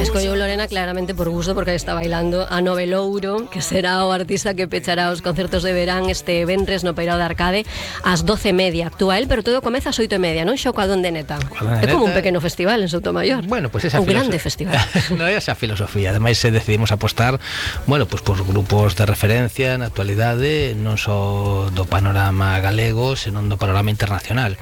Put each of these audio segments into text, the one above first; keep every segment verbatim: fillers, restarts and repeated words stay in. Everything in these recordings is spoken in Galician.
Escolleu Lorena claramente por gusto, porque está bailando a Novelouro, que será o artista que pechará os concertos de verán este venres no Peirao de Arcade ás doce e media. Actúa el, pero todo comeza ás oito e media, non? Xo coa Donde Neta. É como un pequeno festival en Soutomaior. Bueno, pues esa un grande festival. Non é esa filosofía. Ademais, decidimos apostar, bueno, pues por grupos de referencia na actualidade, non só do panorama galego, senón do panorama internacional.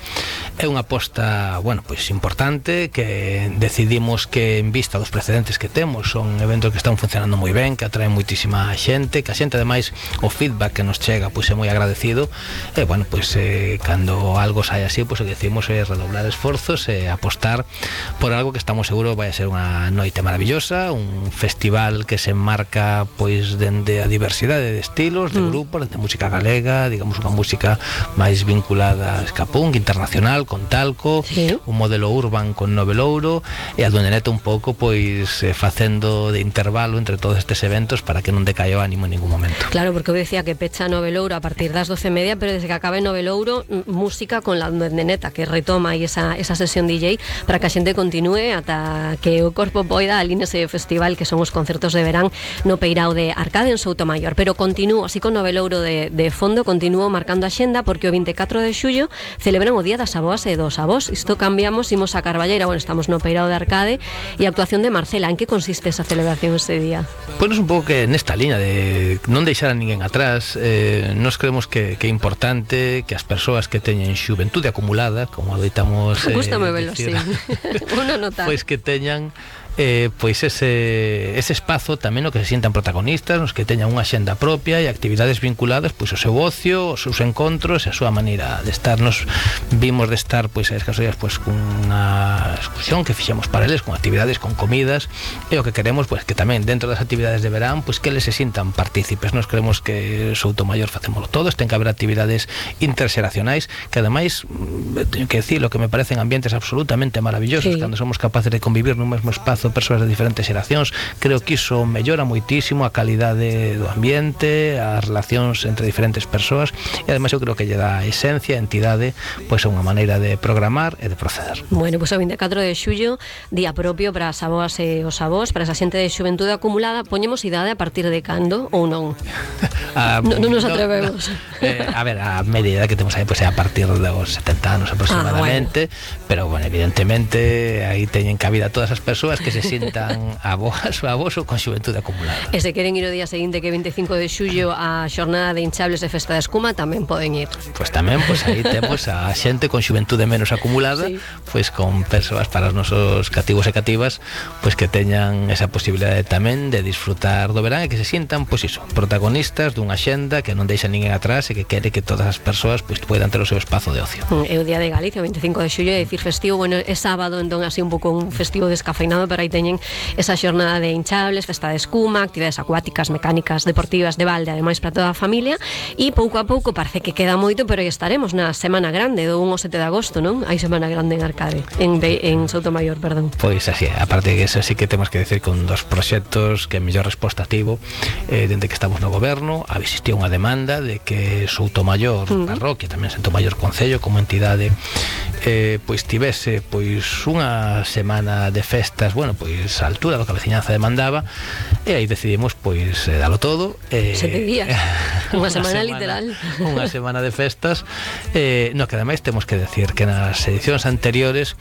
É unha aposta, bueno, pues importante, que decidimos que en vista dos precedentes que temos, son eventos que están funcionando moi ben, que atraen moitísima xente, que a xente ademais o feedback que nos chega pois é moi agradecido, e bueno, pois eh, cando algo sai así, pois o que decimos é redoblar esforzos e apostar por algo que estamos seguros vai a ser unha noite maravillosa, un festival que se enmarca pois dende a diversidade de estilos, de grupos, de música galega, digamos unha música máis vinculada a ska punk internacional con Talco, sí. Un modelo urban con Novelouro, e a Donde Neta un pouco pois eh, facendo de intervalo entre todos estes eventos para que non decaia o ánimo en ningún momento. Claro, porque eu decía que pecha Novelouro a partir das doce e media, pero desde que acabe Novelouro, música con la Donde Neta, que retoma aí esa, esa sesión D J para que a xente continúe ata que o corpo poida aline ese festival que son os concertos de verán no Peirao de Arcade en Soutomaior. Pero continúo, así con Novelouro de, de fondo, continúo marcando a xenda, porque o vinte e catro de xullo celebran o Día das Avoas e dos Avós. Isto cambiamos, imos a Carballeira, bueno, estamos no Peirao de Arcade, e a actuación de Marcela. En que consiste esa celebración ese día? Pois pues un pouco que nesta liña de non deixar a ninguén atrás, eh, nos creemos que, que é importante que as persoas que teñen xuventude acumulada, como adoitamos eh, Gústame velo así. Uno nota. Pois que teñan Eh, pois ese, ese espazo tamén no que se sientan protagonistas, nos que teñan unha xenda propia e actividades vinculadas pois ao seu ocio, os seus encontros e a súa maneira de estar. Nos vimos de estar pois a escasos días pois cunha excursión que fixemos para eles, con actividades, con comidas, e o que queremos pois que tamén dentro das actividades de verán pois que eles se sintan partícipes. Nos creemos que Soutomaior facémoslo todos, ten que haber actividades interxeracionais que ademais, teño que decir, lo que me parecen ambientes absolutamente maravillosos, sí. Cando somos capaces de convivir nun mesmo espazo persoas de diferentes xeracións, creo que iso mellora moitísimo a calidade do ambiente, as relacións entre diferentes persoas, e ademais eu creo que lle dá esencia, entidade, pois a unha maneira de programar e de proceder. Bueno, pois o vinte e catro de xullo, día propio para as avoas e os avós, para esa xente de xuventude acumulada. Poñemos idade a partir de cando ou non? Ah, non no nos atrevemos. No, eh, a ver, a media edad que temos aí pois é a partir dos setenta anos aproximadamente, ah, bueno. Pero bueno, evidentemente aí teñen cabida todas as persoas que se sintan avoas ou avós ou con xuventude acumulada. E se queren ir o día seguinte, que é vinte e cinco de xullo, a xornada de hinchables de Festa de Escuma, tamén poden ir. Pois tamén, pois aí temos a xente con xuventude menos acumulada, sí. Pois con persoas para os nosos cativos e cativas, pois que teñan esa posibilidade tamén de disfrutar do verán e que se sintan, pois iso, protagonistas dunha xenda que non deixa ninguén atrás e que quere que todas as persoas pois poidan ter o seu espazo de ocio. É o día de Galicia, o vinte e cinco de xullo, é dicir festivo, bueno, é sábado, entón así un pouco un festivo descafeinado, pero aí teñen esa xornada de hinchables, festa de escuma, actividades acuáticas, mecánicas, deportivas, de balde, ademais para toda a familia, e pouco a pouco parece que queda moito, pero aí estaremos na Semana Grande do un ao sete de agosto, non? Hai Semana Grande en Arcade, en, en Soutomaior, perdón. Pois así, aparte que eso sí que temos que decir con dos proxectos que mellor resposta tivo, eh, dende que estamos no goberno, existía unha demanda de que Soutomaior mm. parroquia, tamén Soutomaior Concello como entidade, eh, pois tivese pois unha semana de festas, bueno, pois a altura do que a veciñanza demandaba, e aí decidimos pois eh, dalo todo, eh, sete días, unha semana, semana literal, unha semana de festas, eh, no que ademais temos que decir que nas edicións anteriores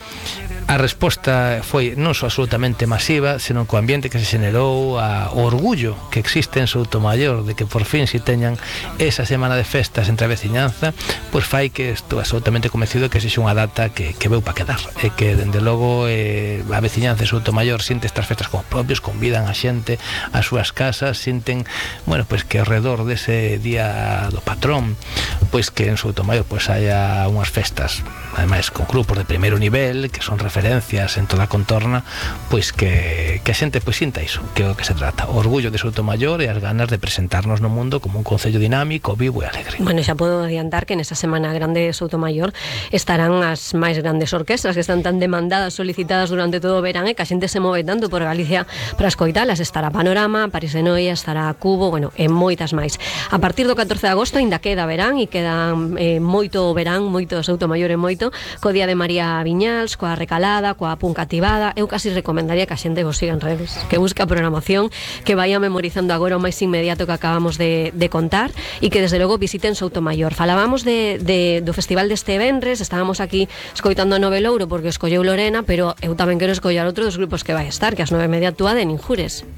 a resposta foi non só absolutamente masiva, senón co ambiente que se xenerou, a, o orgullo que existe en Soutomaior de que por fin si teñan esa semana de festas entre a veciñanza, pois fai que estou absolutamente convencido que sexa unha data que, que veu para quedar, e que dende logo eh, a veciñanza de Soutomaior sinte estas festas como propios, convidan a xente ás súas casas, sinten, bueno, pois que ao redor dese día do patrón, pois que en Soutomaior pois haya unhas festas, ademais con grupos de primeiro nivel, que son referencias en toda a contorna, pois que, que a xente pois sinta iso, que é o que se trata, o orgullo de Soutomaior e as ganas de presentarnos no mundo como un concello dinámico, vivo e alegre. Bueno, xa podo adiantar que nesa Semana Grande de Soutomaior estarán as das máis grandes orquestras que están tan demandadas, solicitadas durante todo o verán, e que a xente se move tanto por Galicia para escoitalas. Estará Panorama, París de Noia, estará Cubo, bueno, e moitas máis. A partir do catorce de agosto ainda queda verán, e queda eh, moito verán, moito Soutomaior e moito, co Día de María Viñals, coa Recalada, coa Punca Activada. Eu casi recomendaría que a xente vos siga en redes, que busca a programación, que vaya memorizando agora o máis inmediato que acabamos de, de contar, e que desde logo visiten Soutomaior. Falábamos de, de, do festival deste venres, estábamos aquí escoitando a Novelouro porque escolleu Lorena, pero eu tamén quero escollar outro dos grupos que vai estar, que as nove e media actúa de Ninjures.